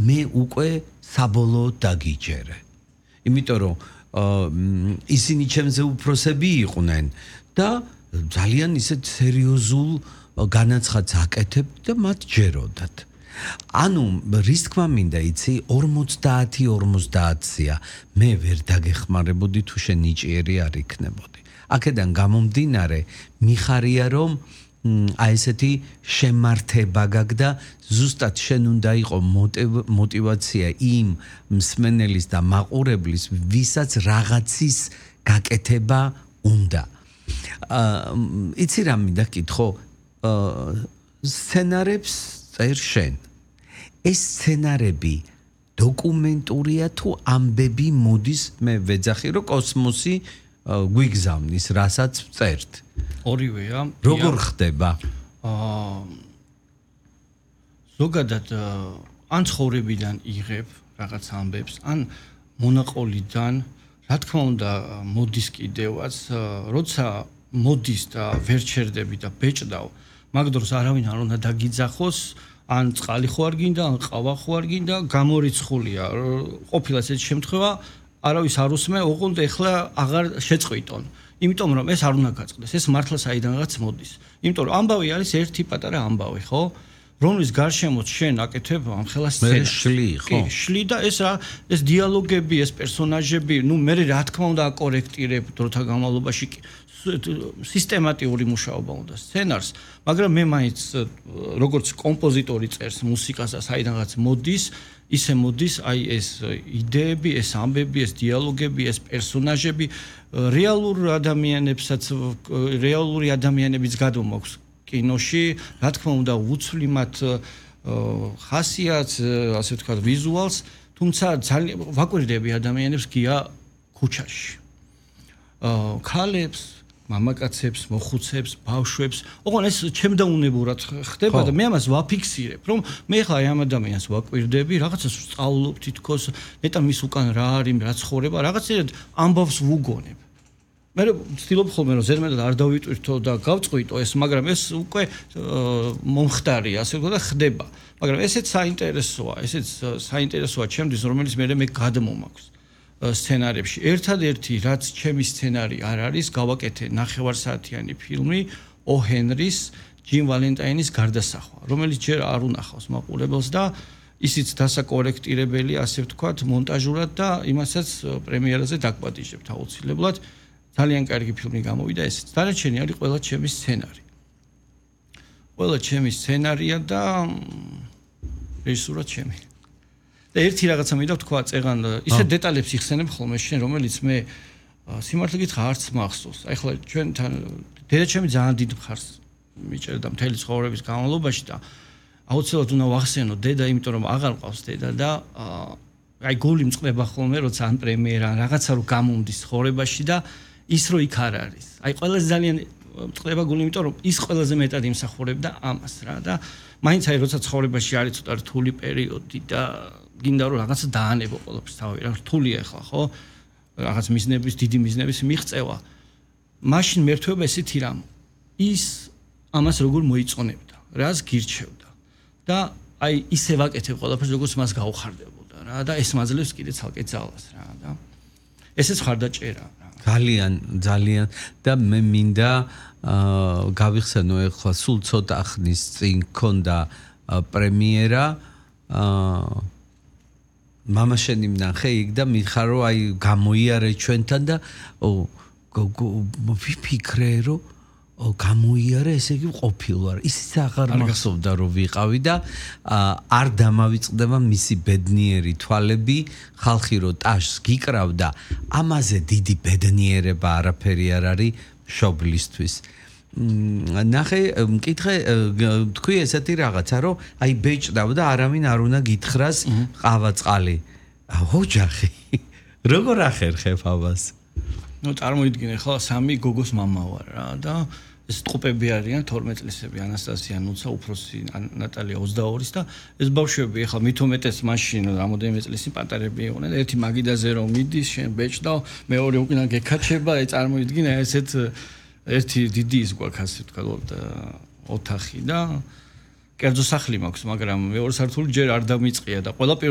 მე უკვე საბოლოოდ დაგიჯერე. იმიტომ რომ ისინი ჩემზე უფროსები იყვნენ და ძალიან ისეთ სერიოზულ განაცხადს აკეთებდნენ და მათ ჯეროდათ. ანუ რის თქმა მინდა იცი 50-50-ია მე ვერ დაგეხმარებოდი თუ შენ ნიჭიერი არ იქნებოდი. აქედან გამომდინარე მიხარია რომ აი ესეთი შემართება გაგდა ზუსტად შენ უნდა იყო мотивация იმ მსმენელის და მაყურებლის ვისაც რაღაცის გაკეთება უნდა. იცი რა მინდა გითხო სცენარებს წერ შენ. ეს სცენარები დოკუმენტურია თუ ამბები მოდის მე ვეძახი რომ კოსმოსი გვიგზავნის რასაც წერთ. ორივეა. როგორ ხდება? ზოგადად ან ცხოვრებიდან იღებ რაღაც ამბებს, ან მონაყოლიდან, რა თქმა უნდა, მოდის კიდევაც, როცა მოდის და ვერ ჩერდები და ბეჭდავ, მაგ დროს არავინ არ უნდა დაგიძახოს, ან წყალი ხო არ გინდა, ან ყავა ხო არ გინდა, გამორიცხულია. ყოფილა ესეთი შემთხვევა, არავის არ უსმე, ოღონდ ეხლა აღარ შეწყვიტონ. იმიტომ რომ ეს არ უნდა გაწყდეს, ეს მართლა საიდანღაც მოდის. იმიტომ რომ ამბავი არის ერთი პატარა ამბავი, ხო? რომლის გარშემოც შენ აკეთებ ამ ხელას სცენას. ხო? შლი და ეს დიალოგები, ეს პერსონაჟები, მე რა თქმა უნდა აკორექტირებ დროთა განმავლობაში სისტემატიური მუშაობა უნდა სცენარს, მაგრამ მე მაინც როგორც კომპოზიტორი წერს მუსიკას და საიდანღაც მოდის, ისე მოდის აი ეს იდეები, ეს ამბები, ეს დიალოგები, ეს პერსონაჟები რეალური ადამიანებიც გადმოაქვს კინოში, რა თქმა უნდა უცვლი მათ ხასიათს, ასე ვთქვათ, ვიზუალს, თუმცა ძალიან ვაკვირდები ადამიანებს გია ქუჩაში. ქალებს, მამაკაცებს, მოხუცებს, ბავშვებს, ოღონდ ეს ჩემდაუნებურად ხდება და მე ამას ვაფიქსირებ, რომ მე ხა აი ამ ადამიანს ვაკვირდები, რაღაცას ვსწავლობ თითქოს, ნეტა მის უკან რა არის, რა ცხოვრება, რაღაცერად ამბავს ვუგონებ. მე ვცდილობ ხოლმე რომ ზედმეტად არ დავიტვირთო და გავწყვიტო ეს, მაგრამ ეს უკვე მომხდარია, ასე ვთქვათ და ხდება. მაგრამ ესეც საინტერესოა ჩემთვის, რომელიც მე გადმომაქვს სცენარებში. ერთადერთი რაც ჩემი სცენარი არ არის, გავაკეთე 9 საათიანი ფილმი ო ჰენრის ჯიმ ვალენტაინის გარდასახვა, რომელიც ჯერ არ უნახავს მაყურებელს და ისიც დასაკორექტირებელი, ასე ვთქვათ, მონტაჟურად და იმასაც პრემიერაზე დაგვადიჟებთ აუცილებლად. ძალიან კარგი ფილმი გამოვიდა ესეც. დანარჩენი არის ყველა ჩემი სცენარი. ყველა ჩემი სცენარია და რეჟისურა ჩემი. და ერთი რაღაცა მინდა ვთქვა, წეგან ისეთ დეტალებს იხსენებ ხოლმე შენ, რომელიც მე სიმართლე გითხრა არც მახსოვს. აი ხლა ჩვენთან დედაჩემი ძალიან დიდ მხარს მიჭერდა მთელი ცხოვრების განმავლობაში და აუცილებლად უნდა ვახსენო დედა, იმიტომ რომ აღარ ყავს დედა და აი გული მწყდება ხოლმე, როცა ან პრემიერა, ან რაღაცა რო გამომდის ცხოვრებაში და ის რო იქ არ არის. აი ყველაზე ძალიან მწყდება გული, იმიტომ რომ ის ყველაზე მეტად იმსახურებდა ამას რა და მაინც აი როცა ცხოვრებაში არის ცოტა რთული პერიოდი და გინდა რომ რაღაცა დაანებო ყველაფერს თავი რა რთულია ახლა ხო? რაღაც მიზნების, დიდი მიზნების მიღწევა. მაშინ მერთვება ესეთი რამ. ის ამას როგორ მოიწონებდა, რას გირჩევდა და აი ისე ვაკეთებ ყველაფერს როგორც მას გაუხარდებოდა რა და ეს მაძლევს კიდე ცალკე ძალას რა და ესეც ხარდაჭერა რა. ძალიან და მე მინდა გავიხსენო ახლა სულ ცოტა ხნის წინ ქონდა პრემიერა მამა შენი მნახე იქ და მიხარო აი გამოიარე ჩვენთან და ვიფიქრე რომ გამოიარე ესე იგი ყოფილვარ ისიც აღარ მახსოვდა რომ ვიყავი და არ დამავიწყდება მისი ბედნიერი თვალები ხალხი რო ტაშს გიკრავდა ამაზე დიდი ბედნიერება არაფერი არ არის მშობლისთვის ნახე მკითხე თქვი ესეთი რაღაცა რომ აი ბეჭდავ და არავინ არ უნდა გითხრას ყავა წყალი ოჯახი როგორ ახერხებ ამას წარმოიდგინე ხო სამი გოგოს მამა ვარ რა და ეს ტყუპები არიან 12 წლისები ანასტასია ნუცა უფროსი ნატალია 22-ის და ეს ბავშვები ახლა მithumetes მაშინ რამოდენიმე წლის წინ პატარები იყვნენ ერთი მაგიდაზე რომ მიდის შენ ბეჭდავ მეორე უკან გეკაჩება აი წარმოიდგინე ესეთ ერთი დიდი ის გვაქვს ასე ვთქვათ ოთახი და კერძო სახლი მაქვს მაგრამ მეორე სართული ჯერ არ დამიწყია და ყველა პირველ